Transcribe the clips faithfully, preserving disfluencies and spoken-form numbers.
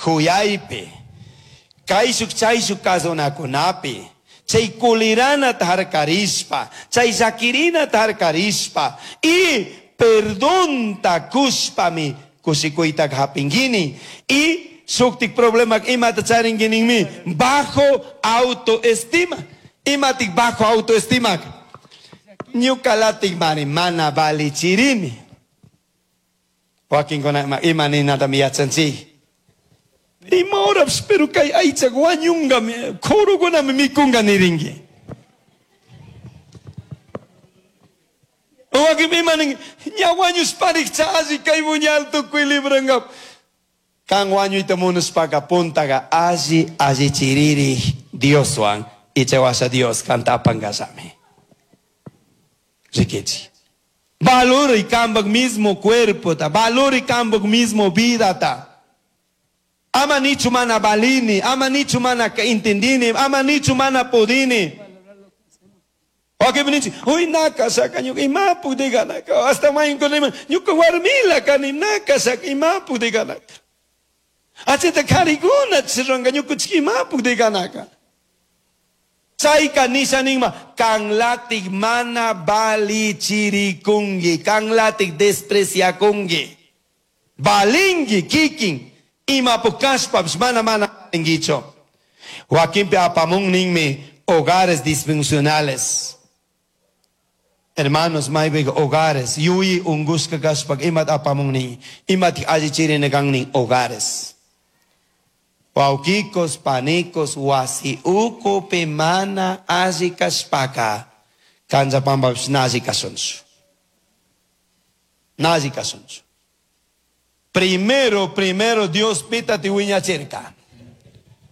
Juyaypi, kayshuk chayshuk kasunakunapi, chay kuliranata harkarishpa, chay llakirinata harkarishpa, y perdonta kushpami kushikuytaka hapinguini. Y shuktik problema imata charinguininmi bajo autoestima. Imatik bajo autoestima. Ñukalatik mari mana valichirini. Wakinkuna ima ninatami yachanchik. Ima horapish pero kay aychak wañungami, kurukunami mikunga nirinki. Wakin ima nin, ña wañushparikcha alli kay buñal tukuy librangap. Kan wañuyta munashpaka puntaka alli allichiriri Dioswan ichawasha Dios kanta apankallami. Rikichi. Valori kampak mismo cuerpo ta, valori kampak mismo vida ta. Ama nichu mana valini, ama nichu mana entendini, ama nichu mana pudini. Wakin nichi, uy naka saka ñuka ima pudiganaka, hasta mayunkunima ñuka warmila kani naka saka ima pudiganaka. Achita karikuna chiranga ñuka ima pudiganaka. Chayka nisha ninma, kanlatik mana balichirikungi, kanlatik despreciakungi. Balingi kikin, ima pukashpapish mana mana balingicho. Wakinpi apamun ninmi hogares disfuncionales. Hermanos, maypiqa hogares, yuyi ungushka kashpaka imat apamun nin, imatik allichirina kan nin hogares. Wawkikos, panikos, wasi ukupi mana alli kashpaka, kanchapampapish na alli kashunchu. Na alli kashunchu. Primero, primero Dios pitati wiñachirka.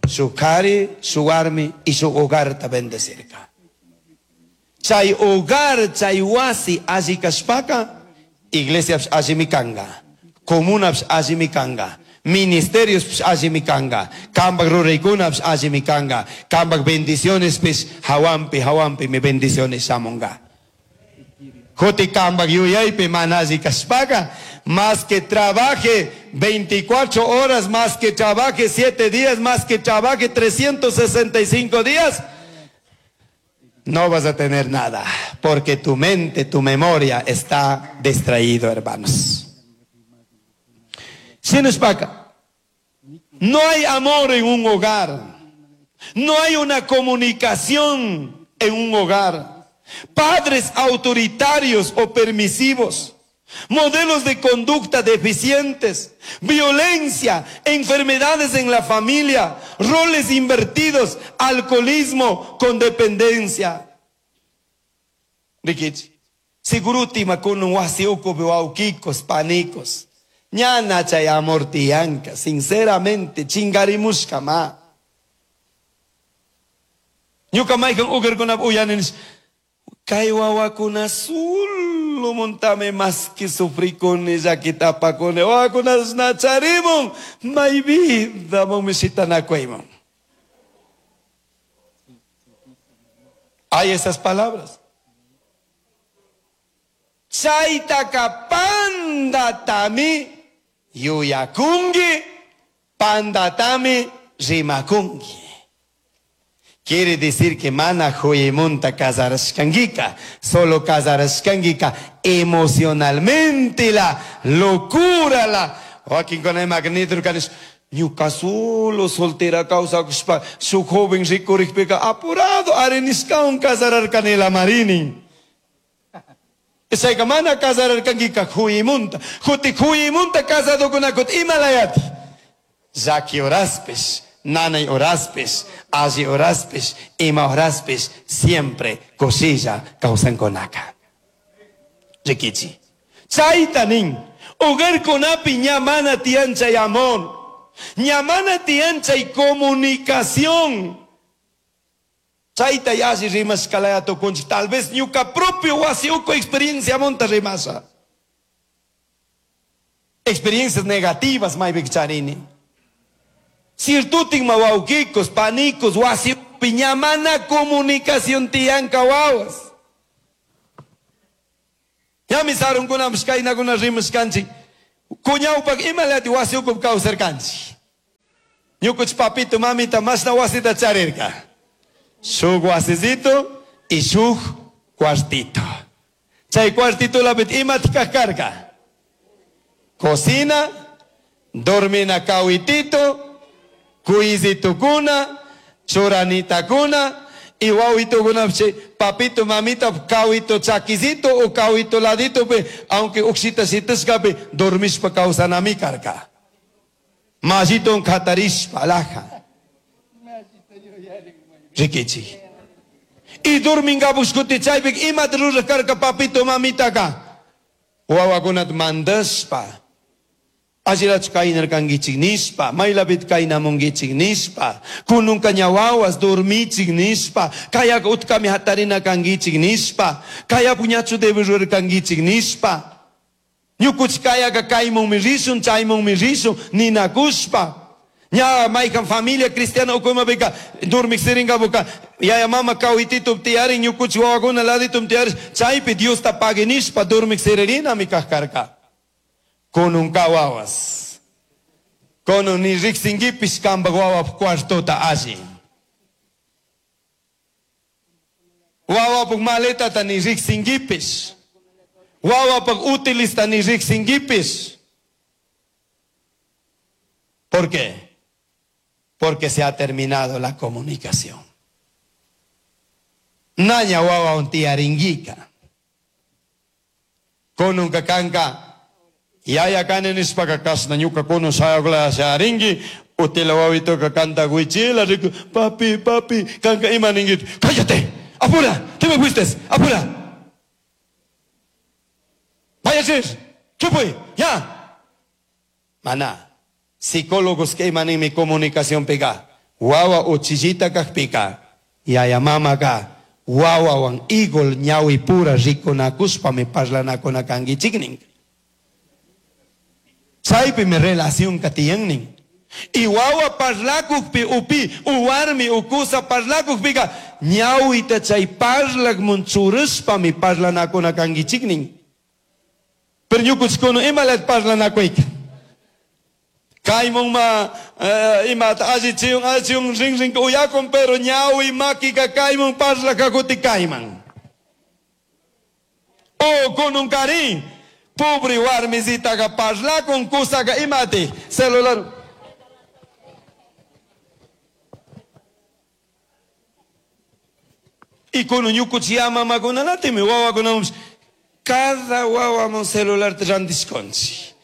Su kari, su warmi y su hogar ta bendecirka. Chay hogar, chay wasi alli kashpaka, iglesia allimi kanga, comuna allimi kanga, ministerios allimi kanga, kambak ruraykuna allimi kanga, kambak bendiciones pis hawampi, hawampi mi bendiciones shamunga. Joti kambak yuyaypi mana alli kashpaka, más que trabaje veinticuatro horas, más que trabaje siete días, más que trabaje trescientos sesenta y cinco días, no vas a tener nada, porque tu mente, tu memoria está distraído, hermanos. Sinuspaka, no hay amor en un hogar, no hay una comunicación en un hogar. Padres autoritarios o permisivos, modelos de conducta deficientes, violencia, enfermedades en la familia, roles invertidos, alcoholismo con dependencia. Rikichi, segurutima con un wasi ukupi wawkikos, panicos. Ñana chay amor tiyanka, sinceramente, chingarimushka ma. Ñuka maykan ugarkunap uyanin, kay wawakuna solo montame más que sufrikuni, llakitapakuni, wawakuna nacharimun, may vida mon misitanakuymon. Hay esas palabras. Chaytaka pandatami yuyakungi, pandatami rimakungi. Quiere decir que mana joyemonta casarashkangika, solo casarashkangika emocionalmente la locura la. Joaquín con el magneto canis, ñuka solo soltera causa kushpa, su joven rikurikpika apurado areniscaun casararkanela marini. Chayka mana casararkankika joyemonta, juti joyemonta casado kunakut imalayati. Llaki horaspis, nanay horaspis, alli horaspis, ima horaspis, siempre cosilla kawsankunaka. Rikichi. Chayta nin, hogarkunapi ña mana tiyan chay amor, ña mana tiyan chay comunicación. Chayta alli rimashkalaya tukunchik, tal vez ñuka propio wasi uku experiencia monta rimasha. Experiencias negativas maypik charini. Sirtutin mawawkikos, panicos, wasi piñamana comunicación tiyanka wawas. Ñami sarunkunapish kaynakuna rimashkanchik. Kuñawpak imalati wasi ukup kawsarkanchik. Ñukuch papito mamita mashna wasita charirka. Shuk wasisito y shuk cuartito. Chay cuartito lapit imat karka. Cocina, dormina kawitito, kuizitukuna, churanitakuna, y wawitukuna papito mamita kawito chakisito o kawito ladito pe, aunque uxita sitiscape dormishpa kawsanami karka. Majito katarishpa alaja. Rikichi. Y durmingapushkuti chaypik imat ruraj karka papito mamitaka. Wawakunat mandashpa. Allirachu kaynarkankichik nishpa, maylapit kaynamunkichik nishpa, kununka ña wawas dormichik nishpa, kayaka utkami hatarina kankichik nishpa, kaya puñachu debe rurarkankichik nishpa. Ñukuch kayaka kaymunmi rishun, chaymunmi rishun, ninakushpa. Ña maykan familia cristiana ukumapika dormik siringapuka yaya mama kawititu tiyarin ñukuch wawakuna laditum tiyarin, chaypi Diosta pagui nishpa dormik siririnami kajkarka. Kununka wawas. Kunun ni riqsinkipish kanpak wawap cuartota alli. Wawapuk maletata ni riqsinkipish. Wawapuk utilista ni riqsinkipish. ¿Por qué? Porque se ha terminado la comunicación. Naña wawa un tiaringuica. Kununka kanka. Yaya kani nishpaka kashna ñuka kunun shayakula sharingi, utila wawitoka kanta wichila riku, papi, papi, kanka ima ningit, cállate, apura, te me fuiste, apura. Vaya a ir, chupuy, ya. Mana, psicólogos que ima ninmi comunicación pika, wawa uchillita kajpika, yaya mama ka, wawawan igol ñawi pura rikunakushpa mi parlanakuna kankichiknin. Chaypi mi relación katiyannin. Y wawa parlakukpi upi, uwarmi ukusa parlakukpika, ñawita chay parlakmun churishpa mi parlanakuna kankichiknin. Pero ñukuchkuna imalat parlanakuyka. Kaymun ma eh, imata allichiyun allichiyun rin rin uyakun, pero ñawi makika kaymun parlakakuti kayman. O kunun karin. Pobre warmisitaqa parlakun kusaqa imati celular. Y kunun ñukuchiya mamakunanatimi wawakunamunpish cada wawamun celular randishkunchik.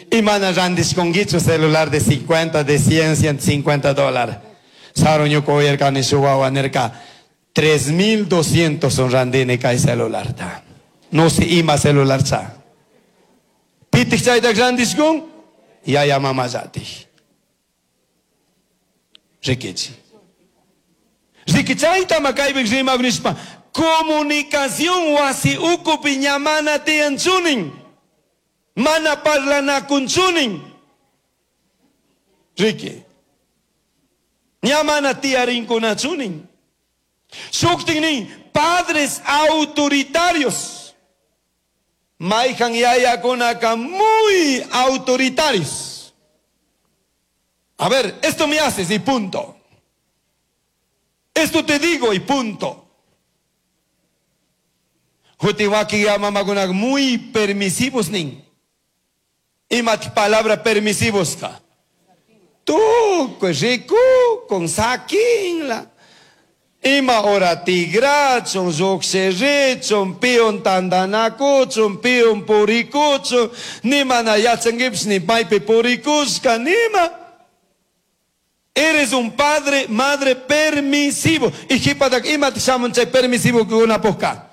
Y mana randishkunkichu celular de cincuenta, de cien, ciento cincuenta dólares. Saru ñuka uyarkani shuk wawa nirka tres mil doscientos son randini kay celularta. No sé ima celular cha. Pitik chayta randishkun, yaya mama llatik. Rikichi. Riki chayta makaypik rimak nishpa, comunicación wasi ukupi ña mana tiyanchunin. Mana parlanakunchunin. Riki. Ña mana tiyarinkunachunin. Shuktin padres autoritarios. Maijan yayakunaka muy autoritarios. A ver, esto me haces y punto. Esto te digo y punto. Jutiwaki ya mamakunak muy permisivos nin. Ima palabra permisivos ka. Tukuy riku con saquinla. Ima ora tigrachun, lluqshirichun, piun tandanakuchun, piun purikuchun, nima na yachankipish ni maypi purikushka, nima. Eres un padre, madre permisivo. Y jipatak ima shamun chay permisivo kunapukka.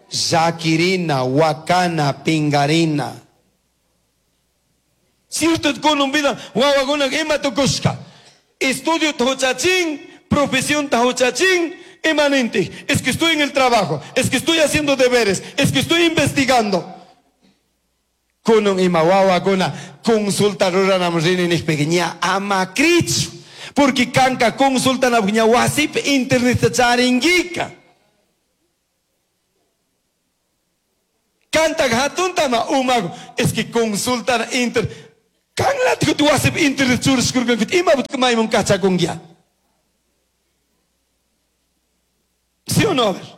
Llakirina, wakana, pingarina. Cierto kunun vida, wawakunak ima tukushka. Estudio huchachin, profesión tahuchachín, emanente. Es que estoy en el trabajo, es que estoy haciendo deberes, es que estoy investigando. Kunun ima wawakuna consulta ruranam rini nijpika ña ama krichu. Porque kanka consultanapuk ña wasipi internet charinguica. Kanta hatuntama umaku, es que consultan inter. Kanlatik wasip internet churashkurkan ima mayman kachakunkia. ¿Sí o no? A ver.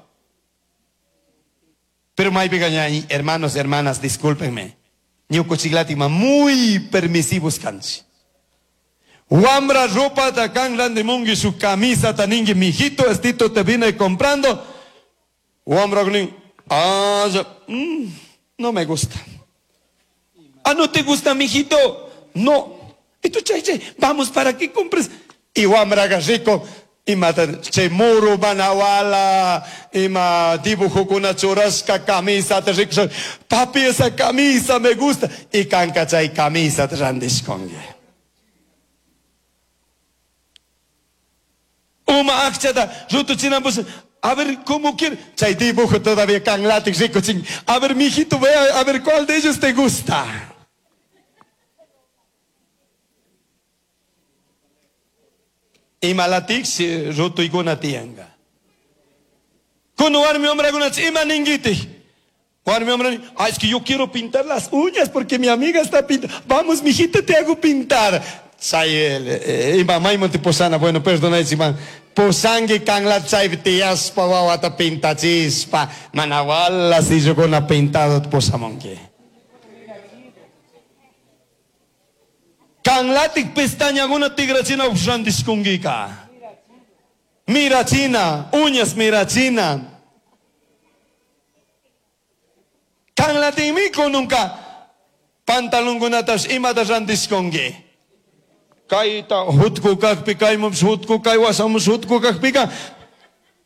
Pero maypiqa, hermanos, hermanas, discúlpenme. Ñukuchiklatima muy permisivos kanchik. Wambra ropa ta kan randimungi su camisa ta ningi mijito, estito te vine comprando. Wambra nin, ah, ya, mm, no me gusta. Ah, ¿no te gusta, mijito? No. Y tú, che, che, vamos para que compres. Y wambra rico. Ima che muru manawala, ima dibujo churashka camisa te rico. Papi, esa camisa me gusta. Y kanka chay camisa te randishkongi. Uma akchata rutuchinapus. A ver, ¿cómo quiere? Chay dibujo todavía kanlatik rico ching. A ver, mijito, ve a, a ver cuál de ellos te gusta. Imalatik si rutuykuna tiyanka. Kuno warmi hombre ima ningiti. Warmi hombre, ah, es que yo quiero pintar las uñas porque mi amiga está pintando. Vamos, mijita, te hago pintar. Chay, ima mayman te posana, bueno, perdona, ima. Posangi kanglat chay tiyaspa wawata pintachispa. Manawala si yo con pintado posamonki. Kanglatik pestañaguna tigrachina uxrandishkungika. Mirachina, uñas mirachina. Kanglatikmi kununka pantalonkunatas imata randishkunki. Kayta hutku kakpi, kaymups hutku, kaywasamus hutku kakpika.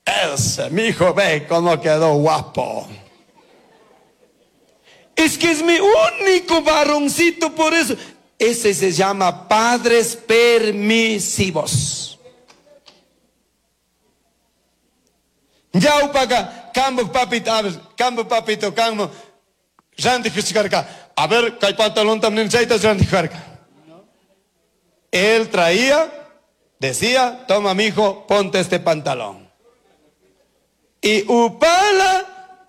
Ese, mijo, ve cómo quedó guapo. Es que es mi único varoncito por eso. Ese se llama padres permisivos. Yaupaka, kambo papito, a ver, kambo papito, kambo. Randy Juchicarca. A ver, kay pantalón también chaitas randy juchicarca. Él traía, decía, toma mijo, ponte este pantalón. Y upala,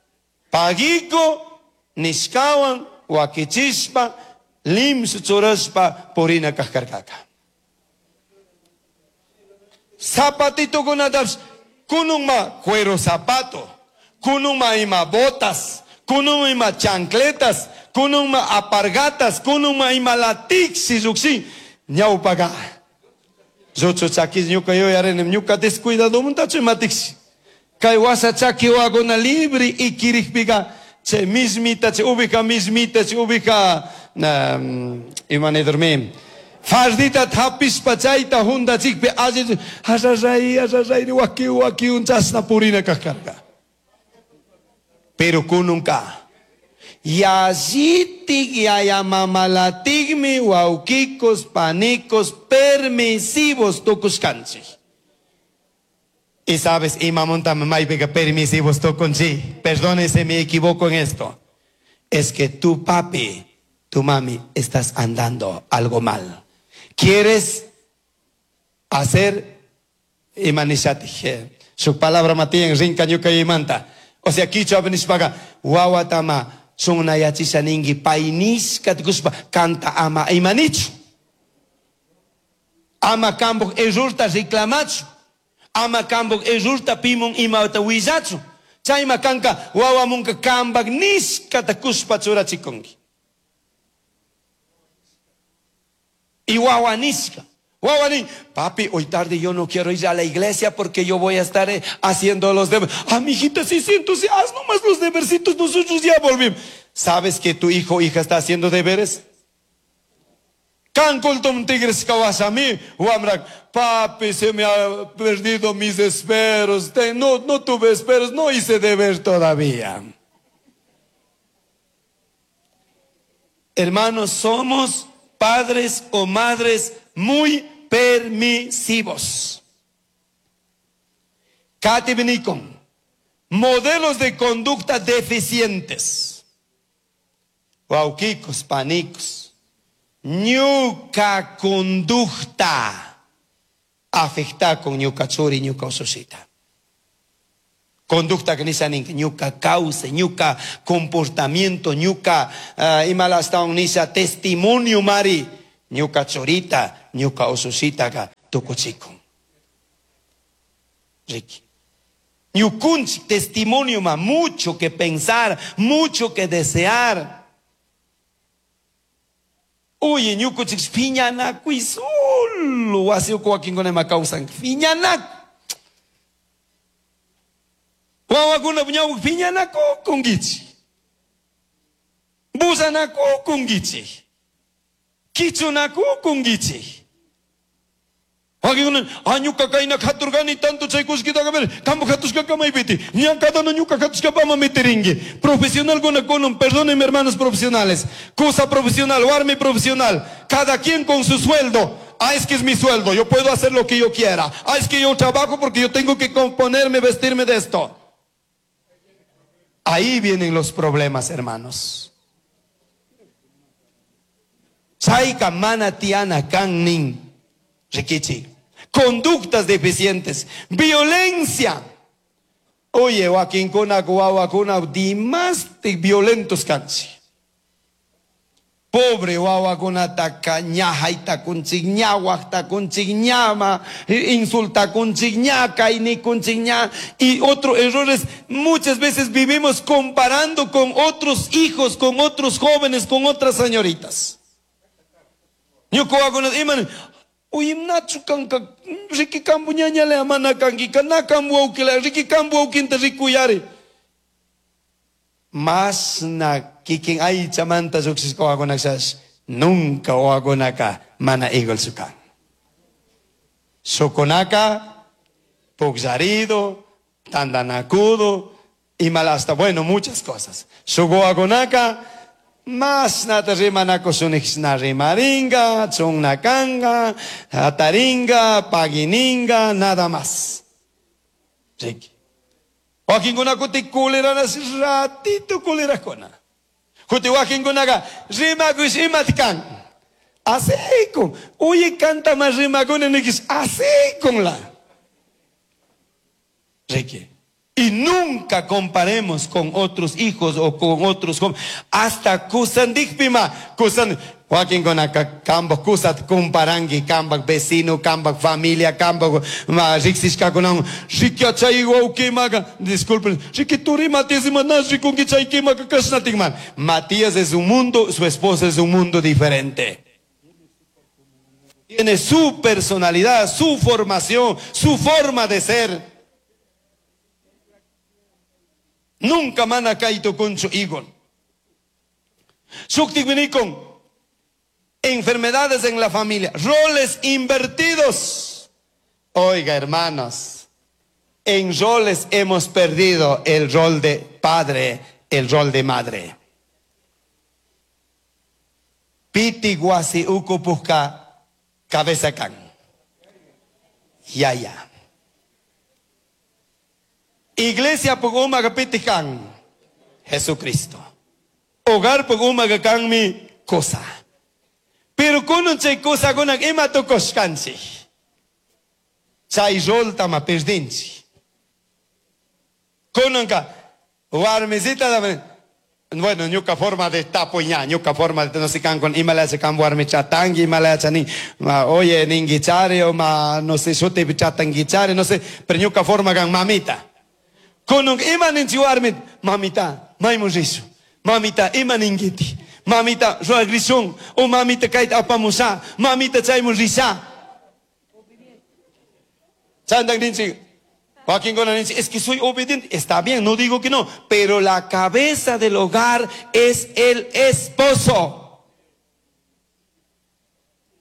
pagico, nishkawan, wakichispa, limsu churashpa purina kajkarkaka. Zapatito kunataps, kununma cuero zapato, kununma ima botas, kununma ima chancletas, kununma apargatas, kununma ima latixi ruxin, ñawpaga. Zuchu chakis ñuka yuyarini, ñuka descuidado muntachu imatixi. Kay wasa chaki waguna libre ikirikpiga, che mismita, che ubika mismita, che ubika Um, imani dormim. Fardita tapispa chayta hundachikpi alli asasay asasay waki waki unchasna purina kajkarka. Pero kununka. Yallitik yayamamalatikmi wawkikos panicos permisivos tukushkanchik. Y sabes, imamonta maypiqa permisivos tukunchik. Perdónese, me equivoco en esto. Es que tu papi, tu mami, estás andando algo mal. ¿Quieres hacer? Imanishati. Su palabra matían rinka ñuka imanta. O sea, kichwa benishpaga wawatama sunayachisha ningi painishka tukuspa kanta ama imanichu. Ama kambuk errorta reclamachu. Ama kambuk errorta pimun imata willachu. Chayma kanka wawamunka kambak nishka takuspa churachikunki. Y wawanisca. Wawani, papi, hoy tarde yo no quiero ir a la iglesia porque yo voy a estar haciendo los deberes. Ah, mijita, sí, sí, entonces haz nomás los debercitos, nosotros ya volvimos. ¿Sabes que tu hijo o hija está haciendo deberes? Cancultum tigres kawasami, wamrak, papi, se me ha perdido mis esperos, no, no tuve esperos, no hice deber todavía. Hermanos, somos padres o madres muy permisivos. Katibinikon, modelos de conducta deficientes. Wauquicos, panicos. Ñuka conducta afecta con ñuka churi, ñuka ususita. Conducta que nisa ninka, ñuka causa, ñuka comportamiento, ñuka uh, imalasta nisa testimonio mari. Ñuka churita, ñuka usushitaga tukuchikun. Ricky. Ñukunchik testimonio ma mucho que pensar, mucho que desear. Oye, ñukunchik phiñanakuy solo wasi uku wakinkuna ima kawsan phiñanaku. Wawakuna ñawpak phiñanakukunkichik. Bullanakukunkichik. Kichunakukunkichik. Wakinkuna, ah, ñuka kayna katurkani tanto chay kullkitaqa ver, kampak hatushkaka maypiti, ña cada uno ñuka hatushkapama metirinki. Profesionalkuna kunan, perdónenme hermanos profesionales, cosa profesional, warmi profesional, cada quien con su sueldo. Ah, es que es mi sueldo, yo puedo hacer lo que yo quiera. Ah, es que yo trabajo porque yo tengo que componerme, vestirme de esto. Ahí vienen los problemas, hermanos. Chayka mana tiana kan nin, rikichi. Conductas deficientes, violencia. Oye, wakinkuna, wawakuna, dimaste violentos kanchi. Pobre wawakunataka ñahaytakunchik, ñawaqtakunchik, ñama, insultakunchik, ña, kaynikunchik, ña. Y otros errores, muchas veces vivimos comparando con otros hijos, con otros jóvenes, con otras señoritas. Ñuka wawakuna iman, uy, nachu kanka, riki kambu ñañale mana kanki, na kambu wawkila, riki kambu wawkinta rikuyari. Mas na kikin aychamanta lluqshishka wawakunashash, nunca wawakunaka mana igualchu kan. Shukunaka, pukllarido, tandanakudo, y mal hasta, bueno, muchas cosas. Shuk wawakunaka, mas nata rimanakushunijshna rimaringa, chungnakanga, ataringa, pagininga, nada más. Riki. Wakinkuna kuti kuleranas ratito kulerakuna. Kuti wakinkunaqa rimakush imat kan. Asikun. Uy kanta mas rimakuna nikis asikun la. Riki. Y nunca comparemos con otros hijos o con otros jóvenes. Hasta kusandikpima, kusan, wakinkunaka kambaj kusat comparangi, kambaj vecino, kambaj familia, kambaj ma riqsishkakunawan, riqui chay wawqimaqa, disculpen, riqui turi Matías ima na rikunki chay kimaka kashnatikman. Matías es un mundo, su esposa es un mundo diferente. Tiene su personalidad, su formación, su forma de ser. Nunca mana kaito concho igual. Shuktikminikon, enfermedades en la familia, roles invertidos. Oiga, hermanos, en roles hemos perdido el rol de padre, el rol de madre. Piti guasi ukupujka cabeza kan. Ya, ya. Iglesia puguma piti kan Jesucristo. Hogar puguma kan mi cosa. Pero kunan chay cosa kunan ima tukushkanchik. Chay rolta ma perdinchik. Kunanka warmisita da, bueno, ñuka forma de tapo ña, ñuka forma de no sé kan con ima le hace kan warmi chatangi, ima le hace ni, ma, oye, ninguichare o ma, no sé, shuti chatanguichare, no sé, pero ñuka forma kan mamita. Kununk ima ninchi warmi, mamita, maymun rishu, mamita, ima ninguiti, mamita, ruagrishun, o mamita kayta apamusha, mamita chaymun risha. Chandan ninchi, wakinkuna ninchi, es que soy obediente, está bien, no digo que no, pero la cabeza del hogar es el esposo.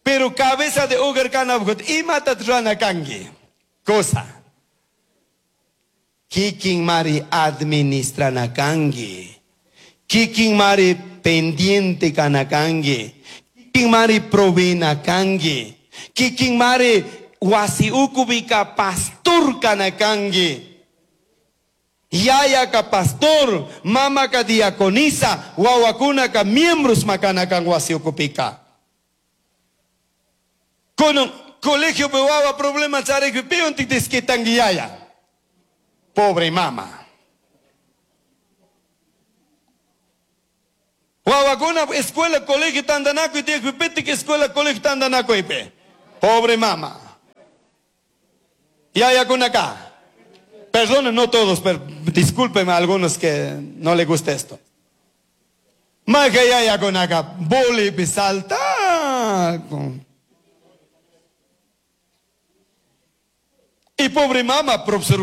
Pero cabeza de hogar kanabgut, imata rana kangi, cosa. Kikin mari administrana kangi. Kikin mari pendiente kanakangi. Kikin mari provena kangi. Kikin mari wasi ukubika pastor kanakangi. Yaya ka pastor, mama ka diaconisa, wawakuna ka miembros makanakan wasi ukupika. Kono colegio pe wawa problema charek pion tiktisquitangi yaya. Pobre mama. Wawakuna escuela, colegio tantanakuy tiyakpi pitik escuela, colegio tantanakuypi. Pobre mama. Yayakunaka. Perdonen, no todos, pero discúlpenme a algunos que no les gusta esto. Maja yayakunaka bolipi salta. Y pobre mama, profesor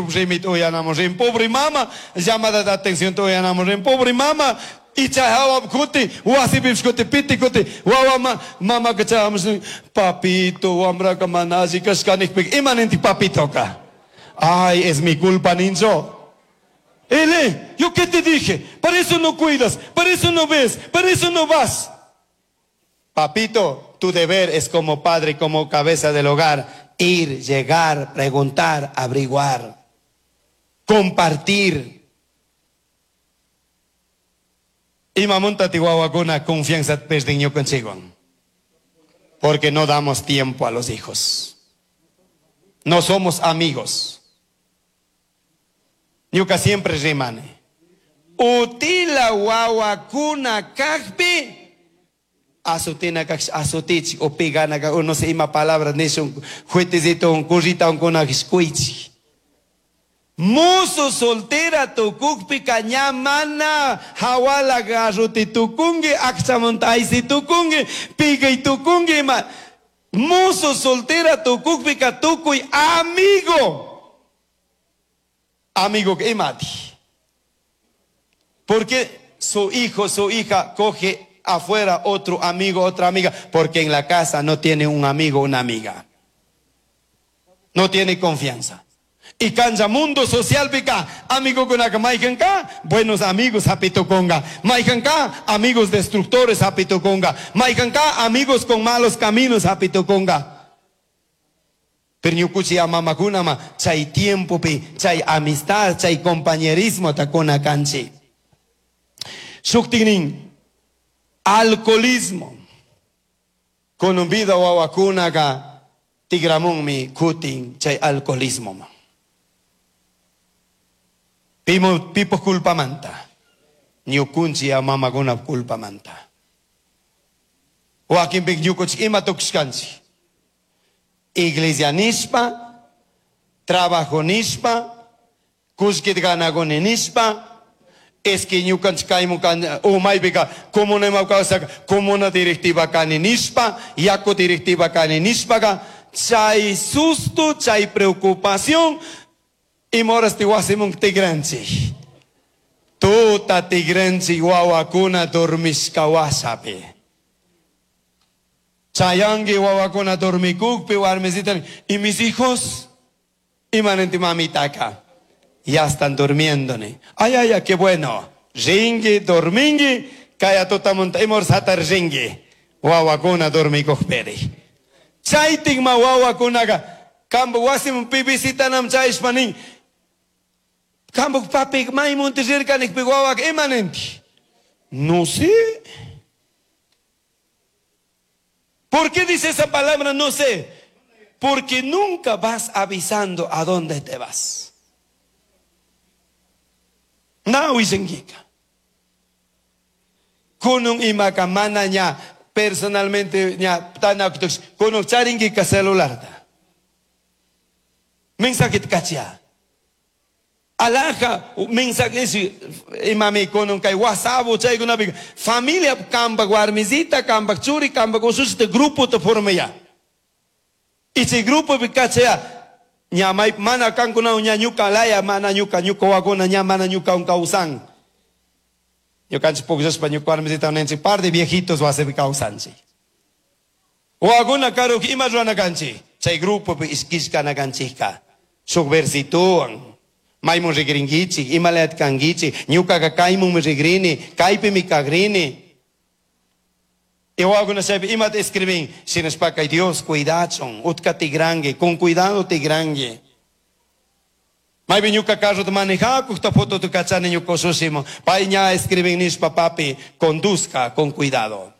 pobre mama, llamada de atención pobre mama, y chahawa kuti, wasipi kuti, piti kuti, wawa mama que papito, wambraka manazi, kashkanik, imanenti papito ka. Ay, es mi culpa, ninjo. Ele, ¿yo qué te dije? Para eso no cuidas, para eso no ves, para eso no vas. Papito, tu deber es como padre, como cabeza del hogar, ir, llegar, preguntar, averiguar, compartir. Y mamunta tihuahuacuna confianza perdiño consigo. Porque no damos tiempo a los hijos. No somos amigos. Ñuka siempre rimane. Utila wawakuna kakpi asutina kak asutichi o pigana kak no sé ima palabra nishun juetecito un currita un kuna kuichi. Musu soltera tukukpi kañamana hawala garruti tukungi akchamuntaisi tukungi pigay tukungi ma musu soltera tukukpi ka tukuy amigo. Amigo que imati. Porque su hijo, su hija coge afuera otro amigo, otra amiga, porque en la casa no tiene un amigo, una amiga. No tiene confianza. Y cancha mundo social pica, amigo con maikanka, buenos amigos hapito conga. Maikanka, amigos destructores hapito conga. Maikanka, amigos con malos caminos hapito conga. Pero ñukuchi mamakunama, chay tiempo pi, chay amistad, chay compañerismo takuna kanchi. Shuktignin, alcoholismo. Con un vida wawakunaka, tigramunmi kutin, chay alcoholismo. Pimo, pipo culpa manta. Ñukunchi mamakuna culpa manta. Wakinpik ñukuchi ima tukushkanchi. Iglesia nispa, trabajo nispa, kushkit ganagoni nispa, es que ñukanchik kaymun umaypika comuna kawsaka comuna directiva kani nispa, yaku directiva kani nispaka, chay susto, chay preocupación, imorasti wasimun tigranchik. Tuta tigranchik wawakuna dormishka wasapi. Chayangi wawakuna dormikukpi warmisitan y mis hijos imanenti mamitaka ya están durmiendo ni. Ay ay ay qué bueno. Ringi dormingi kaya tutamunta imor satar ringi wawakuna dormikukperi. Chaytikma wawakunaka kambu wasim pibisitanam chayshpanin kambu papi maymunti rirkanikpi wawak imanenti. No sé. ¿Por qué dice esa palabra? No sé. Porque nunca vas avisando a dónde te vas. No, wisengika. Kunung imaka mana ña personalmente ña tanakutux kunung charingika celular ta. Mensaje kachia. Alaja mensaje imami kunung kay WhatsApp chaykunapi familia kamba warmisita kamba churi kamba usushita grupo te forma ya. Y si grupo kachia ña may mana kankuna ña ñuka laya mana ñuka ñuka wakuna ña mana ñuka un kausan. Ñukanchik pukllashpa ñuka warmisita nenchik par de viejitos wasipi kawsanchik. Wakuna karuj ima rurana kanchik chay grupopi iskishkana kanchikka shuk versituwan. Maymun rigringichik, imalayat kangichik, ñukaqa kaymunmi rigrini, kaypimi kagrini. Y wakuna chaypi imata escribin, shinashpaka Dios cuidachun, utka tigrangi, con cuidado tigrangi. Maypi ñuka carrota manejakukta fotota kachani ñuka usushimo, pay ña escribin nishpa papi, conduzca con cuidado.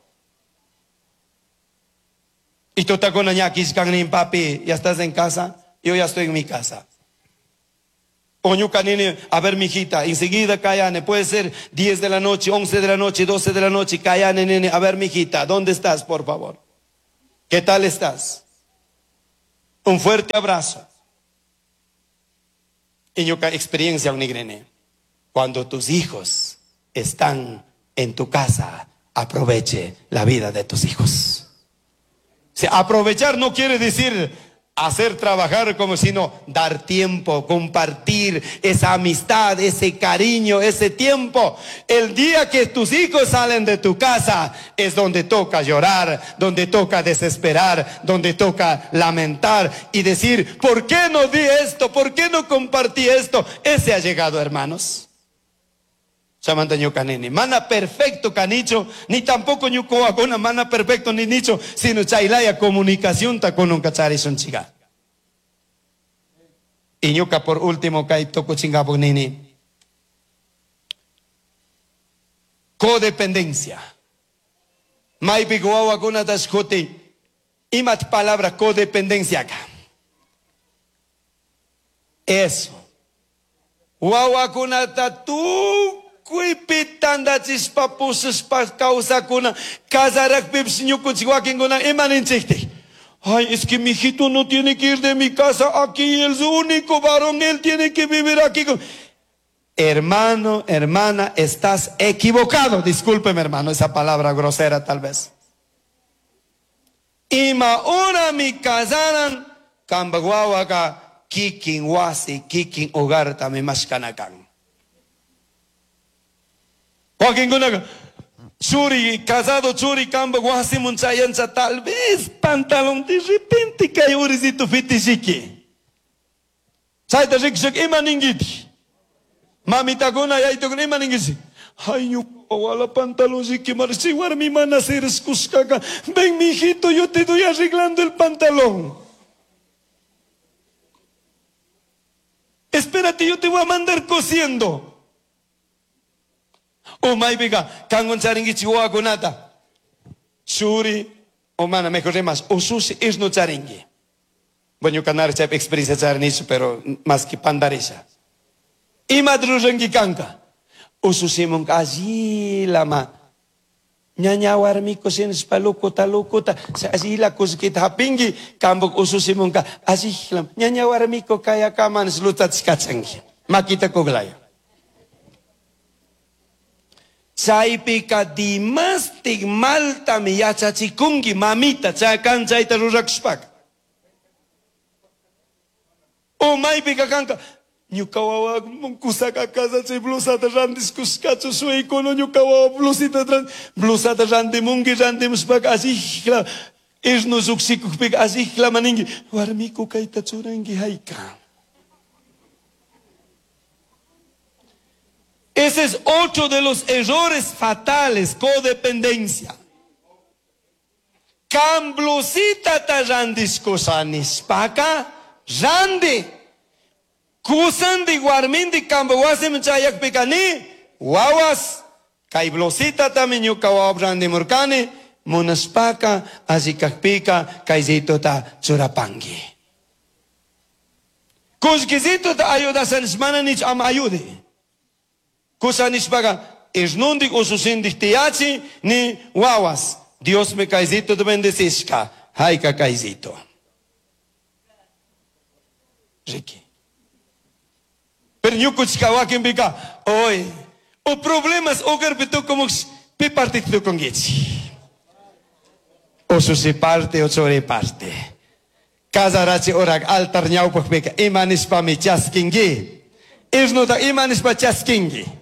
Y tutakuna ña kishkannin papi, ya estás en casa, yo ya estoy en mi casa. O ñuka nini, a ver, mijita, enseguida cayane, puede ser diez de la noche, once de la noche, doce de la noche, cayane, nene, a ver, mijita, ¿dónde estás, por favor? ¿Qué tal estás? Un fuerte abrazo. Y ñuka experiencia, unigrene, cuando tus hijos están en tu casa, aproveche la vida de tus hijos. O sea, aprovechar no quiere decir hacer trabajar como sino dar tiempo, compartir esa amistad, ese cariño, ese tiempo. El día que tus hijos salen de tu casa es donde toca llorar, donde toca desesperar, donde toca lamentar y decir, ¿por qué no di esto? ¿Por qué no compartí esto? Ese ha llegado, hermanos. Chamanta ñuka nini. Mana perfecto canicho, ni tampoco ñuka mana perfecto ni nicho, sino chaylaya comunicación ta con un chiga. Y ñuka por último kay toko chingapo nini. Codependencia. Maypi wawakunata shkuti. Imat palabra codependencia acá. Eso. Wawakunata tu kuipi tandachispa pusispa kawsakuna kasarakpipis ñukunchik wakinkuna imaninchiktik. Ay, es que mi hijito no tiene que ir de mi casa aquí, él es único varón, él tiene que vivir aquí. Hermano, hermana, estás equivocado. Discúlpeme, hermano, esa palabra grosera tal vez. Ima ora mi casaran, kambaguawaga, kikin wasi, kikin hogar tami mashkanakan. Wakinkunaqa churi, casado churi, kamba wasimun chayancha, tal vez pantalón de repente kay urisito fitishiki. Chayta rikushaka ima ninkiti. Mamitakuna yaytukuna ima ninkisi. Ay, ñuka wala pantalón riki marchi warmi mana siriskushkaka. Ven, mijito, yo te doy arreglando el pantalón. Espérate, yo te voy a mandar cosiendo. O maypiqa kanwan charinkichik wawakunata. Churi, o mana, mejor rimas, ususi isnu charinki. Bueno, ñuka nara chaypi experiencia charinichu, pero más que pandarisha. Imata ruranki kanka. Ususimunka allilama. Ñaña warmiko sinishpa lukuta lukuta, allila kullkita hapinki, kambuk ususimunka allilama. Ñaña warmiko kayakaman lutachikachanki. Makita kuglaya. Chaypika dimastik maltami yachachikunki mamita chay kan chayta rurakushpaka. O maypika kanka ñuka wawa kusaka casa chay blusata randiskushkachu shuykuna ñuka wawa blusita blusata randimunki randimushpaka allishla isnu lluqshikukpika allishla ninki warmiku kayta churanki hayka. Ese es otro de los errores fatales, codependencia. Kan blusita ta randiskusha nishpaka, randi. Kusandi warmindi kamba wasiman chayakpika ni, wawas. Kay blusita tami ñuka wawa randimurkani, munashpaka, allikakpika, kaysituta churapanki. Kullkisituta ayudasha mana nich ama ayude. Kusa nishpaga, isnundik ususindik tiyachi ni wawas. Dios me kaisito te bendecishka. Haika kaisito. Ricky. Pero ñukuchika wakinpika, oy, o problemas hogarpi tukumuk pi parte tukunkichik. Ususi parte o churi parte. Kasarachi orak altar ñawpaqpika ima nishpami chaskinki. Isnuta ima nishpa chaskinki.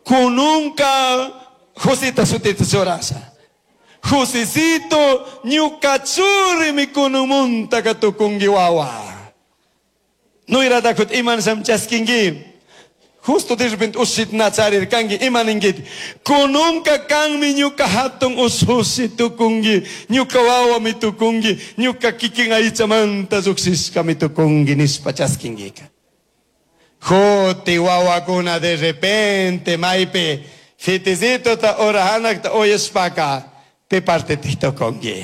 Kununka Josita sutita churasha. Josecito ñuka churimi kunumunta katukunki wawa. Nuyratakut iman sam chaskinki. Justo de repente ushit nacharirkanki imaninki. Kununka kanmi ñuka hatun ushushi tukunki. Ñuka wawa mi tukunki. Ñuka kikin aychamanta lluqshishka mi tukunki nishpa chaskinkika. Joti wawakuna de repente maypi fitisito ta orahanakta oyashpaka pi parte titukunki.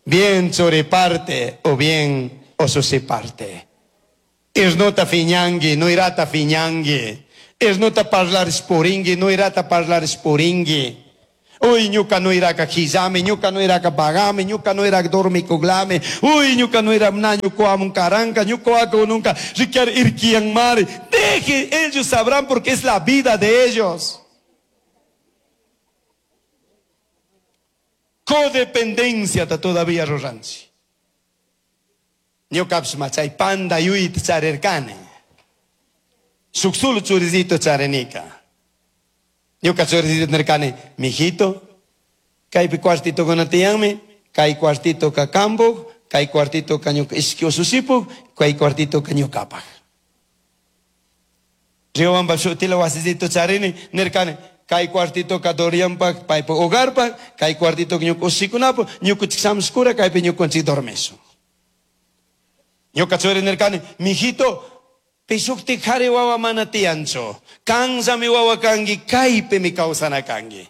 Bien churi parte o bien ususi parte. Irnuta fiñangi, nuirata fiñangi. Irnuta parlarish puringi, nuirata parlarish puringi. Uy, ñuka nuiraka quillami, ñuka nuiraka pagami, ñuka nuiraka dormikuglami. Uy, ñuka nuira na ñuka karanka, ñuka nunca rikyar irkian mari. Deje, ellos sabrán porque es la vida de ellos. Codependencia ta todavía ruranchi. Ñukapish machay panda yuyta charirkani. Shuk solo churisito charinika. Ñuka churisito nirkani, mijito, kaypi cuartito kunatiyanmi, kay cuartito ka kambuk, kay cuartito ka ñuka ishki usushipuk, kay cuartito ka ñukapaj. Riobamba shutila wasisito charini, nirkani, kay cuartito ka Dorianpak, paypak hogarpak, kay cuartito ka ñuka ushikunapak, ñukuchik shamushkura, kaypi ñukunchik dormisun. Ñuka churi nirkani, mijito, pishukti jari wawa mana tiyanchu, kanllami wawa kangi, kaypimi kawsana kangi.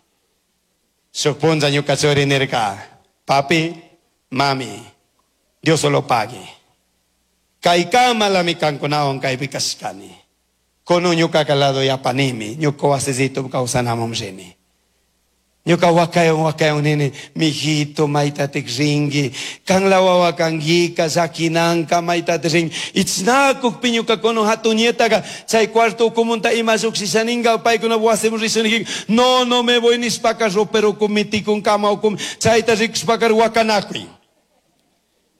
Shuk punlla ñuka churi nirka, papi, mami, Dios lo pague. Kaykamalami kankunawan kaypi kashkani. Kono ñuka kalado yapanimi, ñuka wasisito kawsanamun rini. Ñuka wakayon wakayon nini, mijito maytatik ringi, kanla wawa kangika, llakinanka maytatik ringi. Ichnakukpi ñuka kono hatunietaga, chay cuarto ukumunta ima llukshishaninga, paykuna wasimun rishuniki, no, no me voy nishpaka ropero ukum, kama ukum, chayta rikushpaka wakanakuy.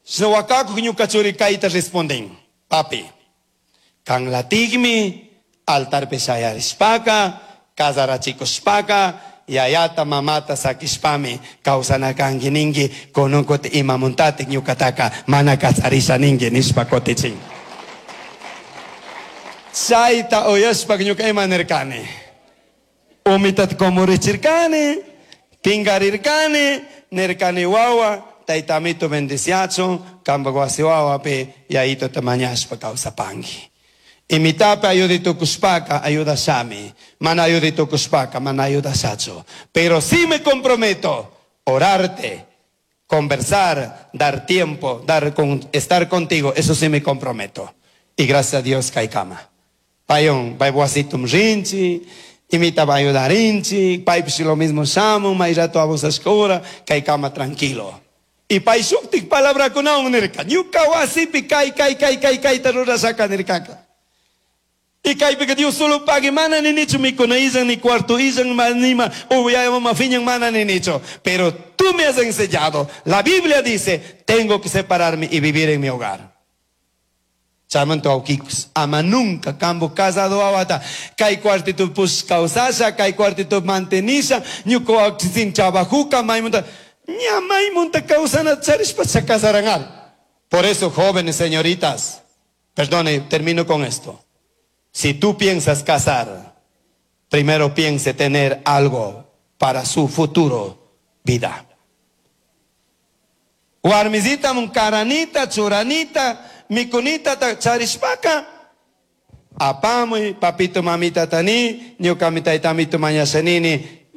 Shina wakakuk ñuka churi kayta responden, papi, kanlatikmi, altarpi shayarishpaka, kasarachikushpaka, yayata mamata sakishpami kawsana kanki ninki kunun kuti imamuntatik ñukataka mana kacharisha ninki nishpa kutichin. Chayta uyashpa ñuka ima nirkani, umitata kumurichirkani, pinkarirkani, nirkani wawa, taytamito bendiciachun, kampak wasi wawapi yayitota mañashpa kawsapanki. Imitape ayuditukushpaka, ayudashami. Mana ayuditukushpaka, mana ayudashachu. Pero sí me comprometo, orarte, conversar, dar tiempo, dar con, estar contigo, eso sí me comprometo. Y gracias a Dios kaikama. Payon, paybuasitum rinchi, imita ayudarinchi, paypish lo mismo shamun, mayrato abusashkura, kaikama tranquilo. Y payshuktik palabrakunawan nirka, ñuka wasipi kay, kay, kay, kay, kayta rurashaka nirkaka. Y kaypi que Dios solo pague, mana ni nicho mikuna illan, ni cuarto illan, nima, uyaya mama fiñan, mana ni nicho. Pero tú me has enseñado, la Biblia dice, tengo que separarme y vivir en mi hogar. Chamanto aukikus, ama nunca kambo casado awata, kay cuartito pus causasha, kay cuartito mantenisha, ñuko sin chabajuca, maimunta, ña maimunta causana charishpa se casaranal. Por eso, jóvenes señoritas, perdone, termino con esto. Si tú piensas casar, primero piense tener algo para su futuro vida. Warmizita munkaranita, churanita, mikunita, charishpaka. Apamuy, papito, mamita tani, ñuka mitaitamito mañasanini,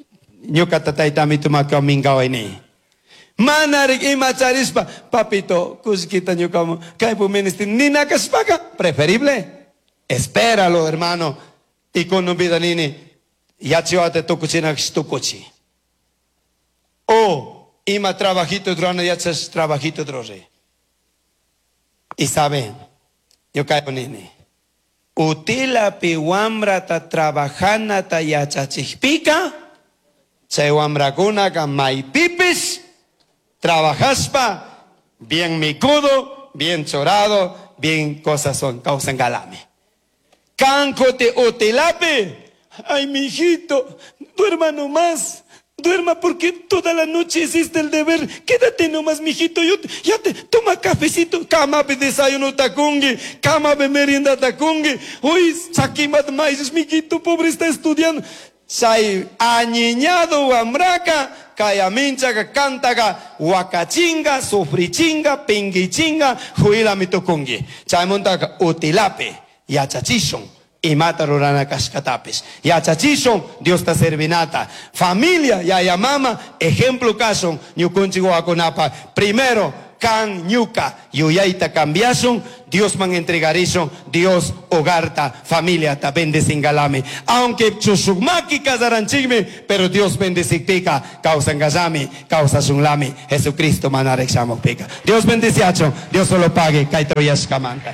ñuka tataitamito makamingawaini. Manarik ima charishpa, papito, kushkita ñuka, kaypu ministri, ninakashpaka, preferible. Espéralo, hermano. Y con un vida nini, ya chihuate tukuchina tukuchi. O ima trabajito drone, ya chas trabajito drone. Y saben, yo caigo nini. Utila pi wamrata trabajana ta yachachikpika, chay wamrakunaka maypipis, trabajaspa, bien micudo, bien chorado, bien cosas son, causan galame. Cancote utilape. Ay, mijito, duerma nomás. Duerma porque toda la noche hiciste el deber. Quédate nomás, mijito. Yo te, ya te toma cafecito. Cama pe desayuno tacungue. Cama pe merienda tacungue. Uy, saquimat maíz, mijito, pobre está estudiando. Chay añiñado wamraka, kayaminchaga, cantaga, huacachinga, sufrichinga, pinguichinga, juila mitucungue. Chaymontaga utilape. Yachachishun, imata rurana kashkatapis. Yachachishun, Dios ta servinata. Familia, yaya mama, ejemplo kashun, ñukunchik wawakunapa. Primero, Can ñuca yuyayta cambiashun, Diosman entregarishun, Dios hogarta, familiata bendecingalami. Aunque chushuk maki casaranchikmi, pero Dios bendecikpika kawsangallami, kawsashunlami, Jesucristo manaraj shamukpika. Dios bendeciachun, Dios solo pague, kayta uyashkamanta.